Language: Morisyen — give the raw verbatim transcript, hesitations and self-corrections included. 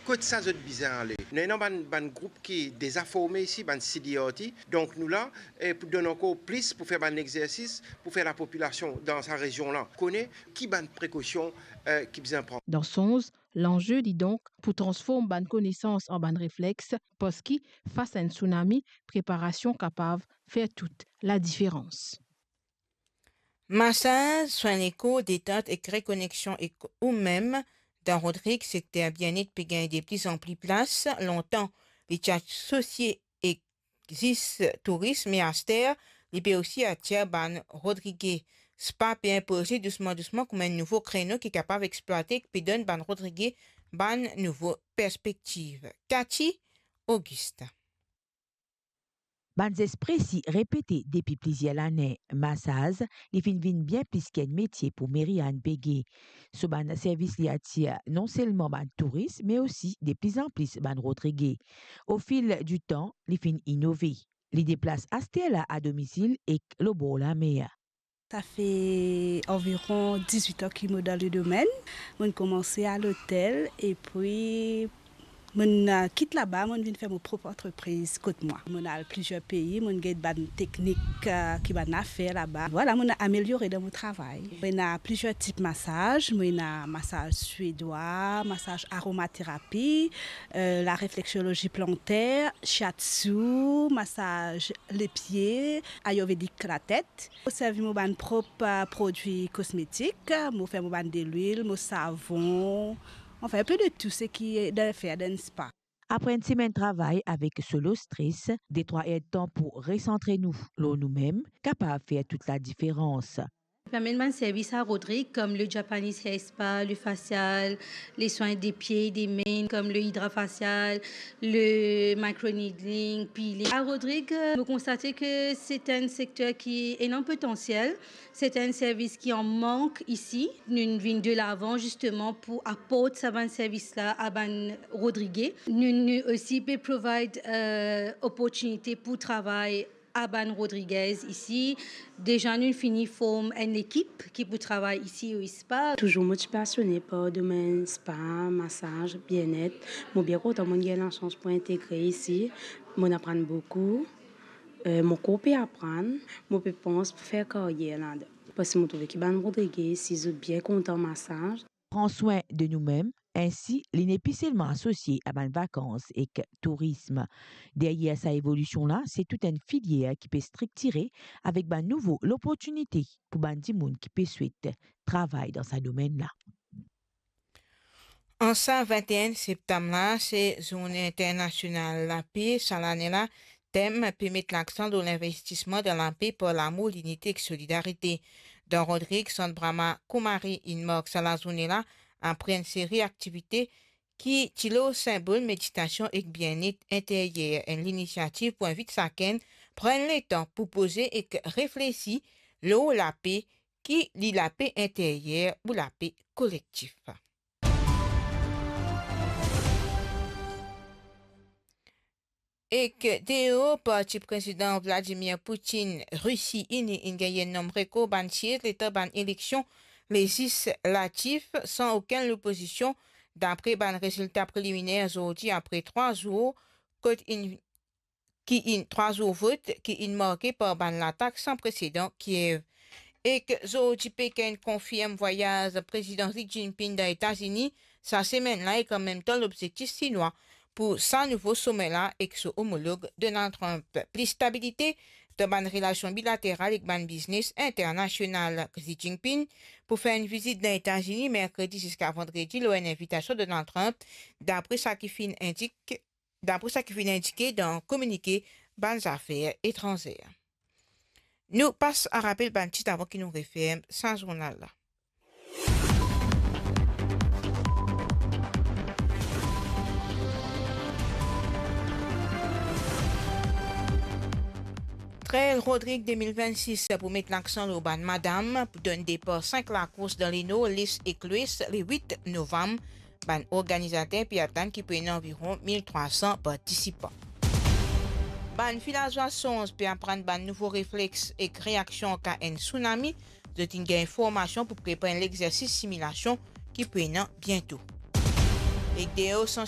Kot sa zot bizin ale? Nou ena bann, bann group ki deza forme isi, bann C D R T. Donk nou la, eh, pou donn ankor plis, pou fer bann exersis, pou fer lapopilasion dan sa rezion la kone ki bann prekosion, eh, ki bizin pran. Dan Sonz, lanze li donk pou transform bann konesans an bann reflex, parski fas a enn tsunami, preparasion kapav fer tout ladiferans. Masaz, swin lekor, detant ek rekoneksion ek oumem. Dan Rodrig, sekter bienet pe gagn de plizanpli plas. Lontan, li ti asosie ek zis touris, me aster, li pe osi atir bann Rodrige. Spa pe inpoze dousman dousman kouma enn nouvo kreno ki kapav explwate, ki pe donn bann Rodrige bann nouvo perspektiv. Cathy Augustin. Bann zes presi repete depi plizier lane, masaz, li finn vinn bien plis ki enn metie pou Meriane Begue. So bann servis li atir non selman bann touris, me osi de plizanpli bann Rodrige. O fil di tan, li finn inove. Li deplas aster la a domisil ek lor bor lamer. Sa fer anviron dizwit an ki mo dan le domenn. Mo'nn koumans a lotel, epi mo'nn, eh, kit laba, mo'nn vinn fer mo prop antrepriz kot mwa. Mo'nn al plizier pei, mo'nn get bann teknik, eh, ki bann la fer laba. Vwala, mo'nn ameliore dan mo travay. Mo ena plizier tip masaz. Mo ena masaz swedwa, masaz aromaterapi, eh, larefleksiolozi planter, shiatsu, masaz lepie, ayurvedic latet. Mo servi mo bann prop, eh, prodwi kosmetik, mo fer mo bann delwil, mo savon, anfin, enpe de tou seki dan fer dan spa. Apre enn semenn travay avek so lo stres, de trwa erdtan pou resantre nou lor noumem, kapav fer tout ladiferans. Pe amenn bann servis a Rodrig, kom le Japanese hair spa, le facial, le swin de pie, de men, kom le hydra facial, le microneedling, peeling. A Rodrig, mo konstate ke se enn sekter ki ena potansiel, se enn servis ki an mank isi. Nou vinn de lavan zisteman pou aport sa bann servis la a bann Rodrige. Nou, nou osi pe provide, eh, oportinite pou travay a bann Rodriguez isi. Deza nou fini form enn lekip ki pou travay isi o spa. Touzour mo ti pasione par domenn spa, masaz, bienet. Mo bien kontan mo'nn gagn lasans pou integre isi. Mo'nn aprann boukou. Eh, mo ankor pe aprann. Mo pe pans pou fer karyer ladan. Parski mo trouve ki bann Rodrige isi, zot bien kontan masaz. Pran swin de noumem, ensi li nepli selman asosie a bann vakans ek tourism. Deryer sa evolision la, se tou enn filier ki pe striktire avek bann nouvo loportinite pou bann dimoun ki pe swet travay dan sa domenn la. An sa vinte-enn septam la, se Zourne Internasional Lape. Sa lane la, tem pe met laksan lor linvestisman dan lape par lamour, linite ek solidarite. Dan Rodrig, Sant Brahma Kumari inn mark sa lazourne la, apre enn seri aktivite ki ti lor sinbol meditasion ek bienet interyer, enn linisiativ pou invit sakenn pran letan pou poze ek reflesi lor lape, ki li lape interyer ou lape kolektif. Ek deor parti Prezidan Vladimir Putin, Risi Ini inn gagn enn nonm rekor bann siez letan bann eleksion lezislatif san okenn lopozision, dapre bann rezilta preliminer zordi apre trwa zour kot inn, ki inn, trwa zour vot ki inn marke par bann latak san presedan Kiev. Ek zordi Pekin konfirm vwayaz Prezidan Xi Jinping dan Etazini sa semenn la, ek an mem tan lobzektif Sinwa pou sa nouvo some la ek so omolog Donald Trump. Plis stabilite dan bann relasion bilateral ek bann biznes internasional. Xi Jinping pou fer enn vizit dan Etazini merkredi ziska vandredi lor enn invitasion Donald Trump, dapre sa ki finn indik, dapre sa ki finn indike dan kominike bann zafer etranzer. Nou pas a rapel bann tit avan ki nou referm sa zournal la. Trail Rodrig de mil vennsis pou met laksan lor bann madam, pou donn depar sink lakours dan Lenor, Les ek Lwes, le wit novam. Bann organizater pe atann ki pou ena anviron mil trwa san partisipan. Bann vilazwa Sonz pe aprann bann nouvo reflex ek reaksion an ka enn tsunami. Zot inn gagn formasion pou prepar enn lexersis similasion ki pou ena biento. Ek deor san